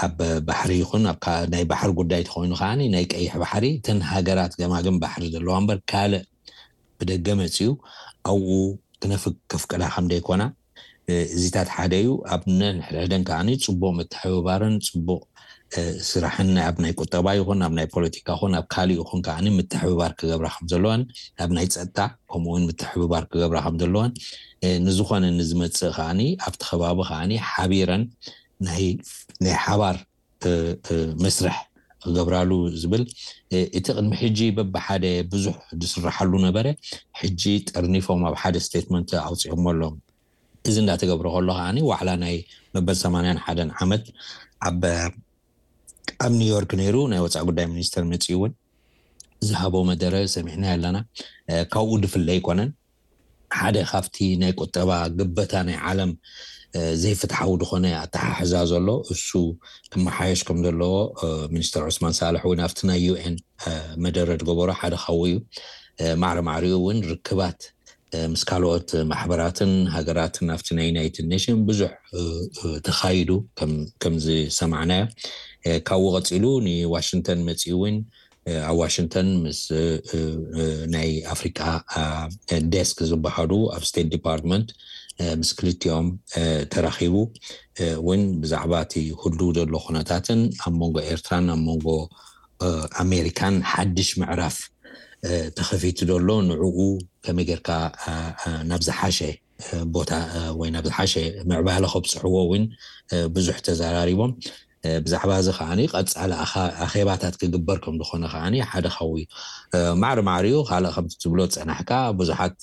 ኣብ ባሕሪ ይኹን ኣብ ናይ ባሕሪ ጉዳይ ተኮይኑ ከዓኒ ናይ ቀይሕ ባሕሪ እተን ሃገራት ገማግም ባሕሪ ዘለዋ እምበር ካልእ ብደገ መፅዩ ኣብኡ ክነፍግ ከፍቅዳ ከም ደይኮና እዚታት ሓደ እዩ። ኣብ ነንሕድሕደን ከዓኒ ፅቡቅ ምትሕብባርን ፅቡቅ ስራሕን ኣብ ናይ ቁጠባ ይኹን ኣብ ናይ ፖለቲካ ይኹን ኣብ ካሊእ ይኹን ከዓኒ ምትሕብባር ክገብራ ከም ዘለዋን ኣብ ናይ ፀጥታ ከምኡ እውን ምትሕብባር ክገብራ ከም ዘለዋን ንዝኾነ ንዝመፅእ ከዓኒ ኣብቲ ከባቢ ከዓኒ ሓቢረን ናይ ናይ ሓባር መስርሕ ክገብራሉ ዝብል እቲ ቅድሚ ሕጂ በብሓደ ብዙሕ ዝስራሓሉ ነበረ። ሕጂ ጠርኒፎም ኣብ ሓደ ስቴትመንት ኣውፂኦሞ ኣለዉ። እዚ እንዳተገብረ ከሎ ከዓኒ ዋዕላ ናይ መበል ሰማንያን ሓደን ዓመት ኣብ ኣብ ኒውዮርክ ነይሩ። ናይ ወፃኢ ጉዳይ ሚኒስተር መፂኡ እውን ዝሃቦ መደረ ሰሚዕና ኣለና። ካብኡ ድፍለ ኣይኮነን። ሓደ ካብቲ ናይ ቁጠባ ግበታ ናይ ዓለም ዘይፍትሓዊ ዝኾነ ኣተሓሕዛ ዘሎ እሱ ክመሓየሽ ከም ዘለዎ ሚኒስተር ዑስማን ሳልሕ እውን ኣብቲ ናይ ዩኤን መደረ ዝገበሮ ሓደ ካብኡ እዩ። ማዕረ ማዕሪኡ እውን ርክባት ምስ ካልኦት ማሕበራትን ሃገራትን ኣብቲ ናይ ዩናይትድ ኔሽን ብዙሕ ተኻይዱ ከም ዝሰማዕናዮ። ካብኡ ቀፂሉ ንዋሽንግተን መፂኡ እውን ኣብ ዋሽንግተን ምስ ናይ ኣፍሪቃ ዴስክ ዝበሃሉ ኣብ ስቴት ዲፓርትመንት ምስ ክልቲኦም ተራኺቡ እውን ብዛዕባ እቲ ህሉ ዘሎ ኩነታትን ኣብ መንጎ ኤርትራን ኣብ መንጎ ኣሜሪካን ሓድሽ ምዕራፍ ተኸፊቱ ዘሎ ንዕኡ ከመይ ጌርካ ናብ ዝሓሸ ቦታ ወይ ናብ ዝሓሸ ምዕባለ ከብፅሕዎ እውን ብዙሕ ተዘራሪቦም። ብዛዕባ እዚ ከዓኒ ቀፃሊ ኣኼባታት ክግበር ከም ዝኾነ ከዓኒ ሓደ ካብኡ እዩ። ማዕሪ ማዕሪኡ ካልእ ከምቲ ትብሎ ዝፀናሕካ ብዙሓት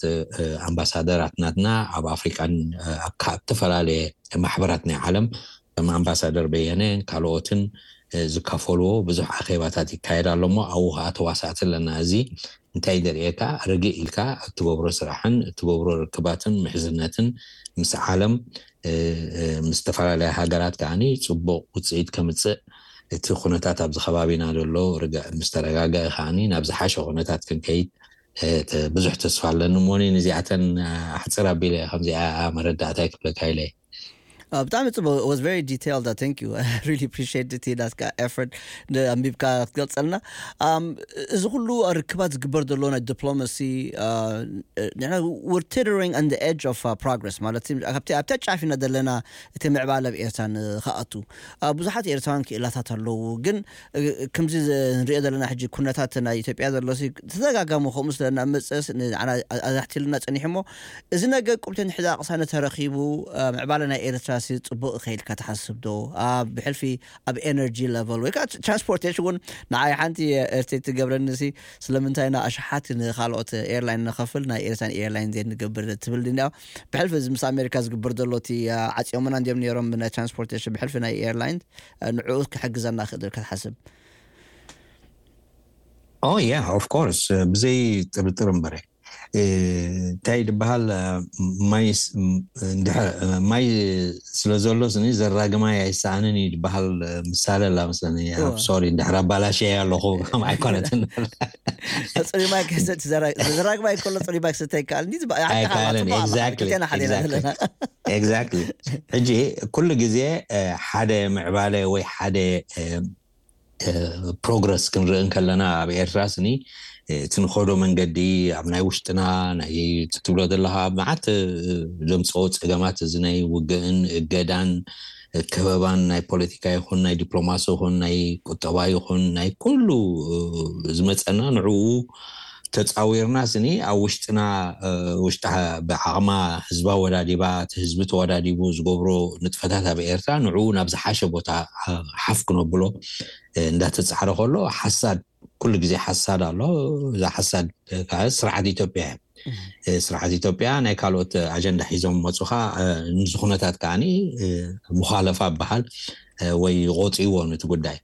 ኣምባሳደራት ናትና ኣብ ኣፍሪቃን ኣብ ዝተፈላለየ ማሕበራት ናይ ዓለም ከም ኣምባሳደር በየነ ካልኦትን ዝካፈልዎ ብዙሕ ኣኼባታት ይካየድ ኣሎ እሞ ኣብኡ ከዓ ተዋሳእቲ ኣለና። እዚ እንታይ ደርእየካ ርግእ ኢልካ እትገብሮ ስራሕን እትገብሮ ርክባትን ምሕዝነትን ምስ ዓለም ምስ ዝተፈላለያ ሃገራት ከዓኒ ፅቡቅ ውፅኢት ከምፅእ እቲ ኩነታት ኣብዚ ከባቢና ዘሎ ርግእ ምስ ተረጋገአ ከዓኒ ናብ ዝሓሸ ኩነታት ክንከይድ ብዙሕ ተስፋ ኣለኒ። እሞኒ ንዚኣተን ኣሕፅር ኣቢለ ከምዚኣ መረዳእታ ይክፍለካ ኢለ። ብጣዕሚ ፅቡቅ። Was very detailed. Thank you. I really appreciate it. ናትካ effort ኣንቢብካ ክትገልፀልና። እዚ ኩሉ ርክባት ዝግበር ዘሎ ናይ ዲፕሎማሲ ንሕና we're teetering on the edge of progress ማለት ኣብቲ ኣብታ ጫፍ ኢና ዘለና እቲ ምዕባለ ኣብ ኤርትራ ንክኣቱ ብዙሓት ኤርትራውያን ክእላታት ኣለዉ። ግን ከምዚ ንሪኦ ዘለና ሕጂ ኩነታት ናይ ኢትዮጵያ ዘሎ ተደጋጋሚ ከምኡ ስለና መፅእስ ኣዛሕቲልና ፀኒሑ እሞ እዚ ነገር ቁብተ ንሕዛ ቅሳነ ተረኺቡ ምዕባለ ናይ ኤርትራ ሲ ፅቡቅ ከይልካ ትሓስብ ዶ? ኣብ ብሕልፊ ኣብ ኤነርጂ ለቨል ወይ ከዓ ትራንስፖርቴሽን እውን ንዓይ ሓንቲ ኤርትራ ትገብረኒ ሲ ስለምንታይ ና ኣሽሓት ንካልኦት ኤርላይን ንኸፍል ናይ ኤርትራን ኤርላይን ዘይንገብር ትብል ድንያ ብሕልፊ እዚ ምስ ኣሜሪካ ዝግበር ዘሎ እቲ ዓፂዮምና እንዲዮም ነይሮም ናይ ትራንስፖርቴሽን ብሕልፊ ናይ ኤርላይን ንዕኡ ክሕግዘና ክእል ክትሓስብ ኦ ያ ኦፍ ኮርስ ብዘይ ጥርጥር እምበረ እንታይ ዝበሃል ማይ ማይ ስለ ዘሎ ስኒ ዘራግማይ ኣይሰኣንን እዩ ዝበሃል ምሳሌ ኣላ መስለኒ። ሶሪ እንድሕር ኣባላሸ ኣለኹ ከም ኣይኮነትን ፅሩይ ማይ ክሰቲ ዘራግማይ ከሎ ፅሩይ ማይ ክሰተ ይከኣል ኣይከኣልን። ኤግዛክትሊ። ሕጂ ኩሉ ግዜ ሓደ ምዕባለ ወይ ሓደ ፕሮግረስ ክንርኢ እንከለና ኣብ ኤርትራ ስኒ እቲ ንኸዶ መንገዲ ኣብ ናይ ውሽጥና ናይ ትብሎ ዘለካ ኣብ መዓት ዘምፅኦ ፀገማት እዚ ናይ ውግእን እገዳን ከበባን ናይ ፖለቲካ ይኹን ናይ ዲፕሎማሲ ይኹን ናይ ቁጠባ ይኹን ናይ ኩሉ ዝመፀና ንዕኡ ተፃዊርና ስኒ ኣብ ውሽጥና ውሽጢ ብዓቕማ ህዝባ ወዳዲባ እቲ ህዝቢ ተወዳዲቡ ዝገብሮ ንጥፈታት ኣብ ኤርትራ ንዕኡ ናብ ዝሓሸ ቦታ ሓፍ ክነብሎ እንዳተፃዕረ ከሎ ሓሳድ ኩሉ ግዜ ሓሳድ ኣሎ። እዛ ሓሳድ ከዓ ስርዓት ኢትዮጵያ እያ። ስርዓት ኢትዮጵያ ናይ ካልኦት ኣጀንዳ ሒዞም መፁኻ። ንዚ ኩነታት ከዓኒ ሙኻለፋ በሃል ወይ ቆፅይዎ ነቲ ጉዳይ።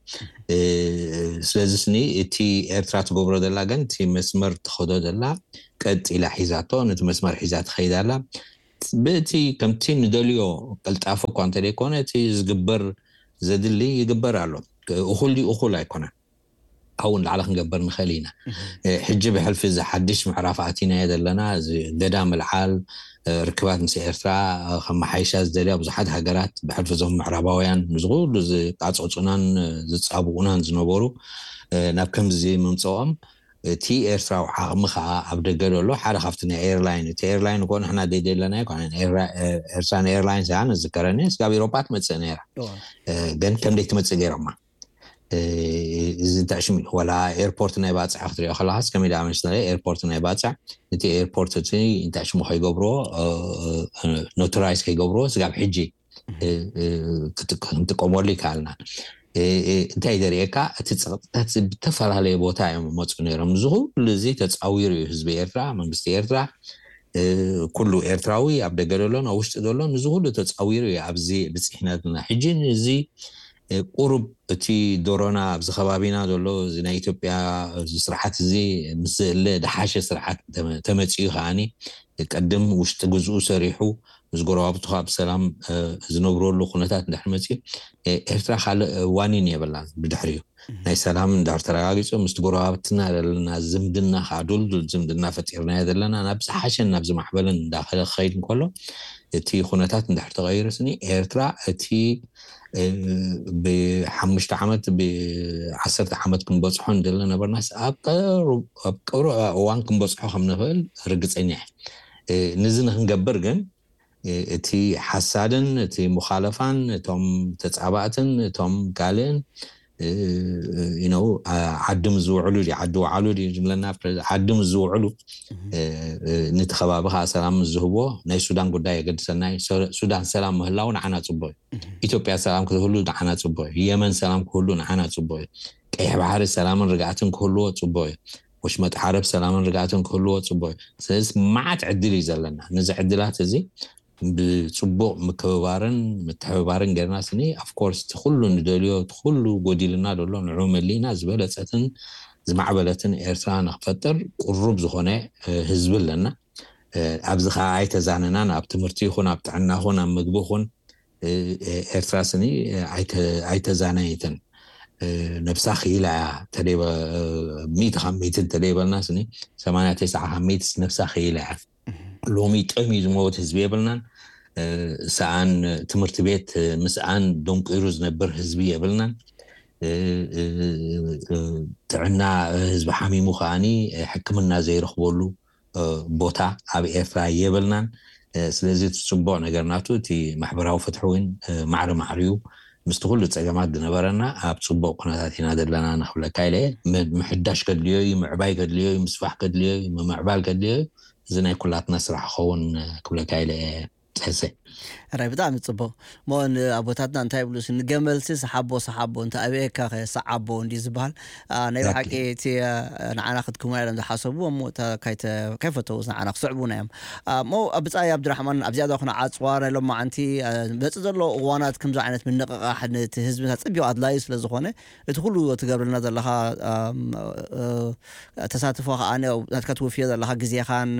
ስለዚ ስኒ እቲ ኤርትራ ትገብሮ ዘላ ግን እቲ መስመር ትኸዶ ዘላ ቀጥ ኢላ ሒዛቶ፣ ነቲ መስመር ሒዛ ትኸይድ ኣላ። ብእቲ ከምቲ ንደልዮ ቅልጣፈ እኳ እንተደይኮነ እቲ ዝግበር ዘድሊ ይግበር ኣሎ። እኹል ድዩ እኹል ኣይኮነን። ኣብኡ ንላዕሊ ክንገብር ንኽእል ኢና። ሕጂ ብሕልፊ እዚ ሓድሽ ምዕራፍ ኣቲናዮ ዘለና፣ እዚ ገዳ ምልዓል፣ ርክባት ምስ ኤርትራ ከመሓይሻ ዝደልያ ብዙሓት ሃገራት፣ ብሕልፊ እዞም ምዕራባውያን፣ እዚ ኩሉ ዝቃፀፁናን ዝፃብኡናን ዝነበሩ ናብ ከምዚ ምምፅኦም፣ እቲ ኤርትራዊ ዓቕሚ ከዓ ኣብ ደገ ዘሎ ሓደ ካብቲ ናይ ኤርላይን፣ እቲ ኤርላይን እኮ ንሕና ደይደለና ኣይኮነን። ኤርትራን ኤርላይን ያ ንዝከረኒ ስጋብ ኤሮፓ ትመፅእ ነይራ። ግን ከም ደይ ትመፅእ ገይሮማ። እዚ እንታይ ሽም እዩ? ወላ ኤርፖርት ናይ ባፅዕ ክትሪኦ ከለካስ ከመይ ደኣ መሰለ፣ ኤርፖርት ናይ ባፅዕ፣ እቲ ኤርፖርት እቲ እንታይ ሽሙ ከይገብርዎ፣ ኖተራይዝ ከይገብርዎ ስጋብ ሕጂ ክንጥቀመሉ ይከኣልና። እንታይ ዘርእየካ፣ እቲ ፀቕጥታት ብተፈላለየ ቦታ እዮም መፁ ነይሮም። እዚ ኩሉ እዚ ተፃዊሩ እዩ ህዝቢ ኤርትራ፣ መንግስቲ ኤርትራ፣ ኩሉ ኤርትራዊ ኣብ ደገ ዘሎን ኣብ ውሽጢ ዘሎን እዚ ኩሉ ተፃዊሩ እዩ ኣብዚ ብፅሕነትና። ሕጂ እዚ ቁሩብ እቲ ዶሮና ኣብዚ ከባቢና ዘሎ እዚ ናይ ኢትዮጵያ እዚ ስርዓት እዚ ምስ ዘለ ደሓሸ ስርዓት ተመፅኡ ከዓኒ ቅድም ውሽጢ ግዝኡ ሰሪሑ ምስ ጎረባብቱ ከዓ ብሰላም ዝነብረሉ ኩነታት እንድሕር መፅኡ ኤርትራ ካልእ ዋኒን የብላን። ብድሕሪኡ ናይ ሰላም እንድሕር ተረጋጊፁ ምስቲ ጎረባብትና ዘለና ዝምድና ከዓ ዱልዱል ዝምድና ፈጢርናዮ ዘለና ናብ ዝሓሸን ናብ ዝማዕበለን እንዳኸደ ክኸይድ እንከሎ እቲ ኩነታት እንድሕር ተቐይሩ ስኒ ኤርትራ እቲ ብሓሙሽተ ዓመት ብዓሰርተ ዓመት ክንበፅሖ እንደለ ነበርናስ ኣብ ቀሩብ እዋን ክንበፅሖ ከም ንኽእል ርግፀኛ እየ። ንዚ ንክንገብር ግን እቲ ሓሳድን እቲ ሙኻለፋን እቶም ተፃባእትን እቶም ካልእን you know ዓዲ ምስ ዝውዕሉ ድዩ ዓዲ ውዓሉ ድዩ ዝብለና ዓዲ ምስ ዝውዕሉ ነቲ ከባቢ ከዓ ሰላም ምስ ዝህብዎ ናይ ሱዳን ጉዳይ የገድሰና እዩ። ሱዳን ሰላም ምህላው ንዓና ፅቡቅ እዩ። ኢትዮጵያ ሰላም ክትህሉ ንዓና ፅቡቅ እዩ። የመን ሰላም ክህሉ ንዓና ፅቡቅ እዩ። ቀይሕ ባሕሪ ሰላምን ርግኣትን ክህልዎ ፅቡቅ እዩ። ወሽመጥ ዓረብ ሰላምን ርግኣትን ክህልዎ ፅቡቅ እዩ። ስለዚ መዓት ዕድል እዩ ዘለና። ነዚ ዕድላት እዚ ብፅቡቅ ምክብባርን ምትሕብባርን ጌርና ስኒ of course እቲ ኩሉ ንደልዮ እቲ ኩሉ ጎዲልና ዘሎ ንዑ መሊእና ዝበለፀትን ዝማዕበለትን ኤርትራ ንክፈጥር ቁሩብ ዝኾነ ህዝቢ ኣለና። ኣብዚ ከዓ ኣይተዛነናን ኣብ ትምህርቲ ይኹን ኣብ ጥዕና ይኹን ኣብ ምግቢ ይኹን ኤርትራ ስኒ ኣይተዛነየትን። ነብሳ ክኢላ እያ። ሚእቲ ካብ ሚእቲ እንተደይበልና ስኒ ሰማንያ ተስዓ ካብ ሚእቲ ነብሳ ክኢላ እያ። ሎሚ ጠምዩ ዝመወት ህዝቢ የብልናን። ሰኣን ትምህርቲ ቤት ምስኣን ደንቂሩ ዝነብር ህዝቢ የብልናን። ጥዕና ህዝቢ ሓሚሙ ከዓኒ ሕክምና ዘይረኽበሉ ቦታ ኣብ ኤርትራ የብልናን። ስለዚ እቲ ፅቡቅ ነገር ናቱ እቲ ማሕበራዊ ፍትሒ እውን ማዕሪ ማዕሪዩ ምስቲ ኩሉ ፀገማት ዝነበረና ኣብ ፅቡቅ ኩነታት ኢና ዘለና ንክብለካ ኢለ። ምሕዳሽ ከድልዮ እዩ፣ ምዕባይ ከድልዮ እዩ፣ ምስፋሕ ከድልዮ እዩ፣ ምምዕባል ከድልዮ እዩ። እዚ ናይ ኩላትና ስራሕ ክኸውን ክብለካ ኢለ። ፀሰ ራይ ብጣዕሚ ፅቡቅ። ሞ ንኣቦታትና እንታይ ይብሉ ንገመልሲ ሰሓቦ ሰሓቦ እንተ ኣበየካ ሰዓቦ እንዲ ዝበሃል። ናይ ብሓቂ እቲ ንዓና ክትክሙና ኢሎም ዝሓሰቡ እሞ ከይፈተውስ ንዓና ክስዕቡና እዮም። ሞ ብፃይ ኣብድራሕማን ኣብዚኣ ዶ ክነዓፅዋ ናይ ሎማዓንቲ መፅእ ዘሎ እዋናት ከምዚ ዓይነት ምንቕቓሕ ነቲ ህዝብና ፅቢቑ ኣድላዩ ስለ ዝኾነ እቲ ኩሉ ትገብርልና ዘለኻ ተሳትፎ ከዓ ናትካ ትውፍዮ ዘለካ ግዜኻን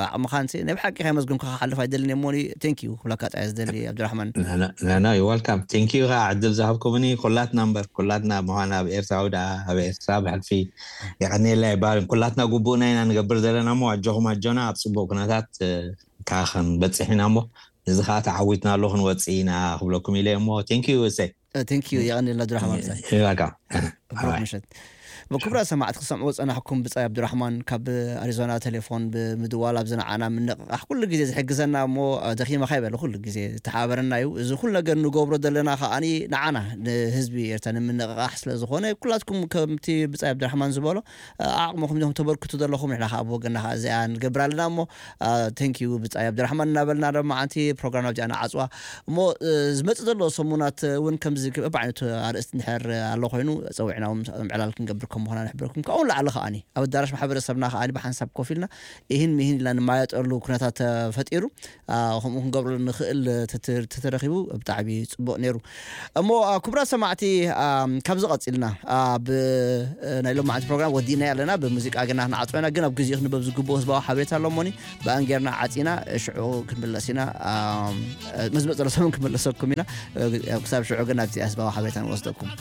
ዓቕምኻን ናይ ብሓቂ ከመስግንካ ክሓልፍ ኣይደልን እሞ ቴንኪዩ ክብለካ ጥራይ ዝደሊ ኣብድራሕማን። ና ዋልካም ቴንኪዩ ከዓ ዕድል ዝሃብኩምኒ ኩላትና እምበር ኩላትና ምኳን ኣብ ኤርትራዊ ደኣ ኣብ ኤርትራ ብሕልፊ የቀንየላ ይባልን ኩላትና ጉቡእና ኢና ንገብር ዘለና እሞ ኣጆኹም ኣጆና ኣብ ፅቡቅ ኩነታት ከዓ ክንበፅሕ ኢና እሞ እዚ ከዓ ተዓዊትና ኣሎ ክንወፅእ ኢና ክብለኩም ኢለ እሞ ቴንኪዩ እሰይ። ቴንኪዩ የቐንልና ኣብድራሕማን ብፃይ። ይበቃ። ብሩክ ምሸት። ብክቡራት ሰማዕቲ ክሰምዕዎ ዝፀናሕኩም ብፃይ ኣብድራሕማን ካብ ኣሪዞና ቴሌፎን ብምድዋል ኣብዚ ንዓና ምንቕቃሕ ኩሉ ግዜ ዝሕግዘና እሞ ደኺመካ ይበለ ኩሉ ግዜ ዝተሓባበረና እዩ። እዚ ኩሉ ነገር ንገብሮ ዘለና ከዓኒ ንዓና ንህዝቢ ኤርትራ ንምንቕቃሕ ስለ ዝኾነ ኩላትኩም ከምቲ ብፃይ ኣብድራሕማን ዝበሎ ዓቕምኹም ኢኹም ተበርክቱ ዘለኹም ንሕና ከዓ ብወገና ከዓ እዚኣ ንገብር ኣለና እሞ ቴንኪዩ ብፃይ ኣብድራሕማን እናበልና ሎማዓንቲ ፕሮግራም ኣብዚኣ ንዓፅዋ። እሞ ዝመፅእ ዘሎ ሰሙናት እውን ከምዚ በብዓይነቱ ኣርእስቲ እንድሕር ኣሎ ኮይኑ ፀዊዕና እውን ምዕላል ክንገብር ከም ምዃና ንሕብረኩም። ካብኡ ንላዕሊ ከዓኒ ኣብ ኣዳራሽ ማሕበረሰብና ከዓኒ ብሓንሳብ ኮፍ ኢልና ኢህን ሚህን ኢልና ንማየጠሉ ኩነታት ተፈጢሩ፣ አ፣ ከምኡ ክንገብረሉ ንኽእል ተተ-፣ ተተረኺቡ ብጣዕሚ ጽቡቕ ነይሩ። እሞ፣ አ፣ ክቡራት ሰማዕቲ፣ አ፣ ካብዚ ቀጺልና፣ አ፣ ብ-፣ ናይ ሎማዓንቲ ፕሮግራም ወዲእና ኣለና። ብሙዚቃ ግና ክንዓጽወ ኢና፣ ግን ኣብ ግዜኡ ክንበብ ዝግብኦ ህዝባዊ ሓበሬታ ኣሎሞኒ ብኣን ጌርና ዓጺና፣ ሽዑ ክንምለስ ኢና። አ፣ መዝመ ዘሎ ሰሙን ክንመለሰኩም ኢና። ክሳብ ሽዑ ግን ኣብቲ ህዝባዊ ሓበሬታ ንወስደኩም።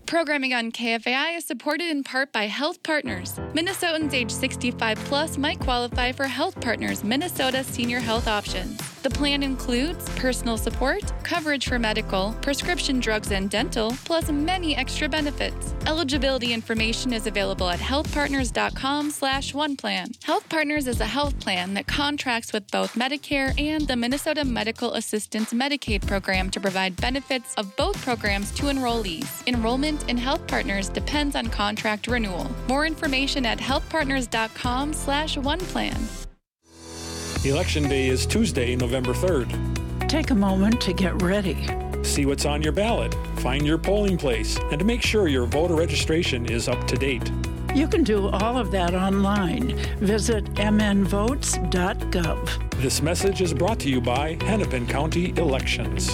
Programming on K F A I is supported in part by Health Partners. Minnesotans age sixty-five plus might qualify for Health Partners Minnesota Senior Health Options. The plan includes personal support, coverage for medical, prescription drugs, and dental, plus many extra benefits. Eligibility information is available at healthpartners.com slash one plan. Health Partners is a health plan that contracts with both Medicare and the Minnesota Medical Assistance Medicaid program to provide benefits of both programs to enrollees. Enrollment in Health Partners depends on contract renewal. More information at healthpartners.com slash one plan. Election Day is Tuesday, November third. Take a moment to get ready. See what's on your ballot, find your polling place, and make sure your voter registration is up to date. You can do all of that online. Visit mnvotes.gov. This message is brought to you by Hennepin County Elections.